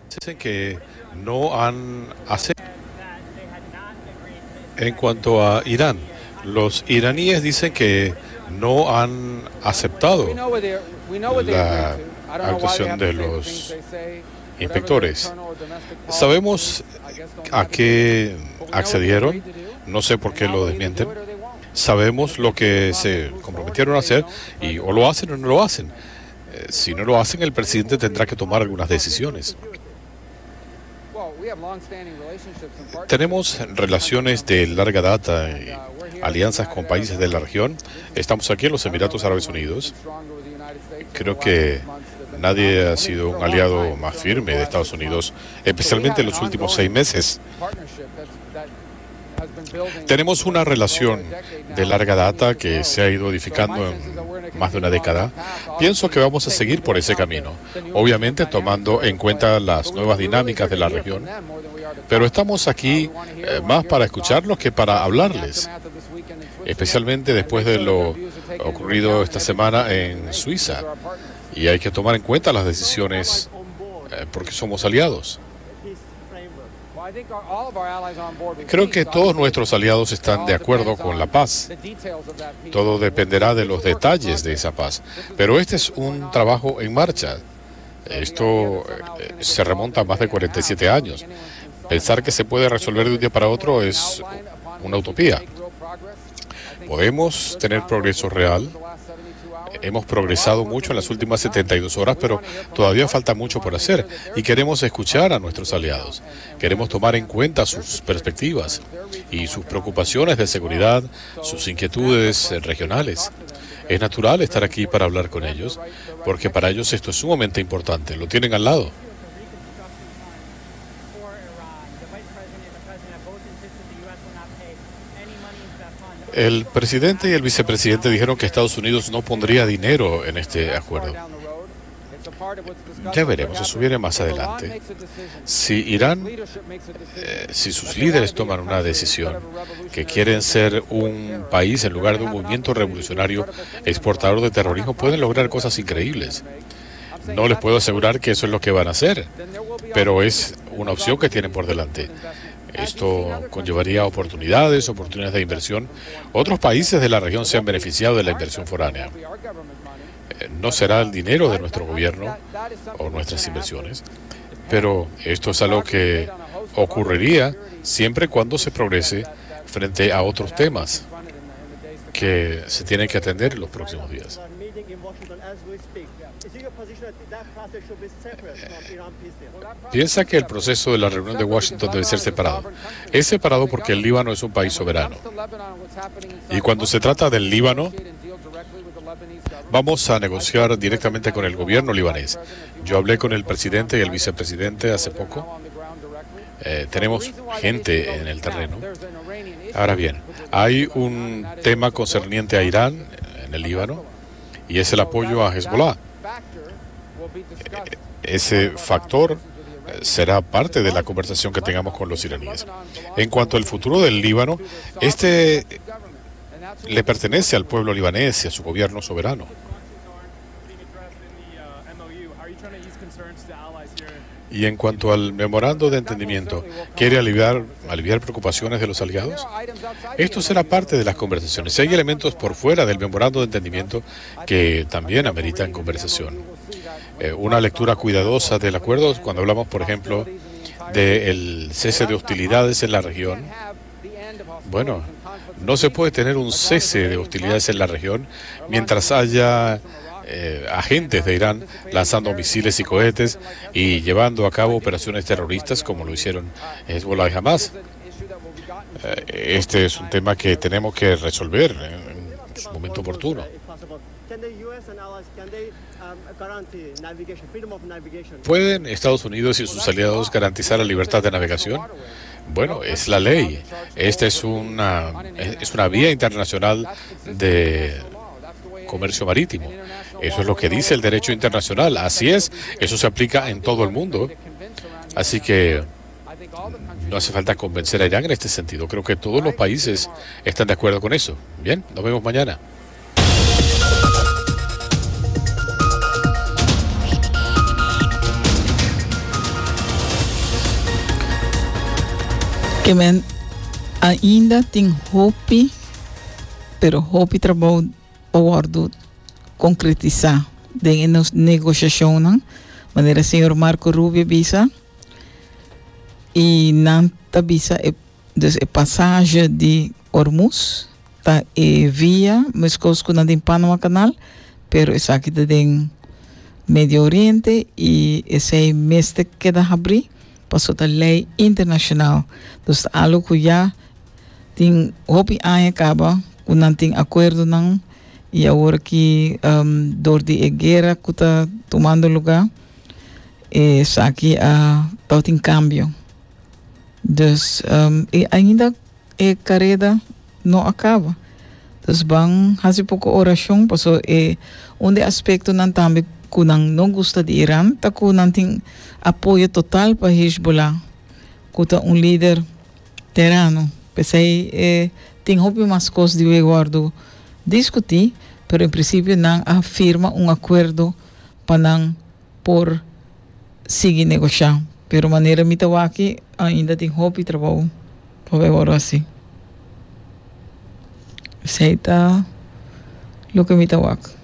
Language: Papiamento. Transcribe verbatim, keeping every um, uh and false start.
Dicen que no han aceptado. En cuanto a Irán, los iraníes dicen que no han aceptado la actuación de los inspectores. Sabemos a qué accedieron, no sé por qué lo desmienten. Sabemos lo que se comprometieron a hacer y o lo hacen o no lo hacen. Eh, si no lo hacen, el presidente tendrá que tomar algunas decisiones. Tenemos relaciones de larga data y alianzas con países de la región. Estamos aquí en los Emiratos Árabes Unidos. Creo que nadie ha sido un aliado más firme de Estados Unidos, especialmente en los últimos seis meses. Tenemos una relación de larga data que se ha ido edificando en más de una década. Pienso que vamos a seguir por ese camino, obviamente tomando en cuenta las nuevas dinámicas de la región, pero estamos aquí eh, más para escucharlos que para hablarles, especialmente después de lo ocurrido esta semana en Suiza. Y hay que tomar en cuenta las decisiones eh, porque somos aliados. Creo que todos nuestros aliados están de acuerdo con la paz. Todo dependerá de los detalles de esa paz. Pero este es un trabajo en marcha. Esto eh, se remonta a más de cuarenta y siete años. Pensar que se puede resolver de un día para otro es una utopía. Podemos tener progreso real. Hemos progresado mucho en las últimas setenta y dos horas, pero todavía falta mucho por hacer y queremos escuchar a nuestros aliados. Queremos tomar en cuenta sus perspectivas y sus preocupaciones de seguridad, sus inquietudes regionales. Es natural estar aquí para hablar con ellos, porque para ellos esto es sumamente importante. Lo tienen al lado. El presidente y el vicepresidente dijeron que Estados Unidos no pondría dinero en este acuerdo. Ya veremos, eso viene más adelante. Si Irán, eh, si sus líderes toman una decisión que quieren ser un país en lugar de un movimiento revolucionario exportador de terrorismo, pueden lograr cosas increíbles. No les puedo asegurar que eso es lo que van a hacer, pero es una opción que tienen por delante. Esto conllevaría oportunidades, oportunidades de inversión. Otros países de la región se han beneficiado de la inversión foránea. No será el dinero de nuestro gobierno o nuestras inversiones, pero esto es algo que ocurriría siempre cuando se progrese frente a otros temas que se tienen que atender en los próximos días. Piensa que el proceso de la reunión de Washington debe ser separado. Es separado porque el Líbano es un país soberano. Y cuando se trata del Líbano, vamos a negociar directamente con el gobierno libanés. Yo hablé con el presidente y el vicepresidente hace poco. Eh, tenemos gente en el terreno. Ahora bien, hay un tema concerniente a Irán en el Líbano y es el apoyo a Hezbollah. Ese factor será parte de la conversación que tengamos con los iraníes. En cuanto al futuro del Líbano, este le pertenece al pueblo libanés y a su gobierno soberano. Y en cuanto al memorando de entendimiento, ¿quiere aliviar, aliviar preocupaciones de los aliados? Esto será parte de las conversaciones. Hay elementos por fuera del memorando de entendimiento que también ameritan conversación. Eh, una lectura cuidadosa del acuerdo, cuando hablamos, por ejemplo, del cese de hostilidades en la región. Bueno, no se puede tener un cese de hostilidades en la región mientras haya Eh, agentes de Irán lanzando misiles y cohetes y llevando a cabo operaciones terroristas como lo hicieron Hezbollah y Hamas. Eh, este es un tema que tenemos que resolver en su momento oportuno. ¿Pueden Estados Unidos y sus aliados garantizar la libertad de navegación? Bueno, es la ley. Esta es una, es una vía internacional de comercio marítimo. Eso es lo que dice el derecho internacional. Así es, eso se aplica en todo el mundo. Así que no hace falta convencer a Irán en este sentido. Creo que todos los países están de acuerdo con eso. Bien, nos vemos mañana. Ke men ainda tin hopi, pero hopi trabou pa wòrdu konkretisá den e negoshashonnan, manera señor Marco Rubio bisa i nan ta bisa e, dus e pasaje di Hormuz ta e via meskos ku nan den Panama Canal, pero esaki ta den Medio Oriente i esei mester keda habrí paso ta lei internashonal. Dus algo ku ya tin hopi aña kaba ku nan tin akuerdonan i awor ku um, dor di e guera ku ta tumando lugá, esaki a uh, tin kambio. Dus um, i ainda e kareda no a kaba. Dus ban hasi poko orashon, paso e un di e aspektonan tambe ku nan no gusta di Iran, ta ku nan tin apoyo total pa Hezbollah, ku ta un lider terano. P'esei eh, tin hopi mas kos di wòrdu diskutí, pero en prinsipio nan a firma un akuerdo pa nan por sigui negoshá. Pero manera mi ta wak aki ainda tin hopi trabou pa ber asina. Esei ta loke mi ta wak.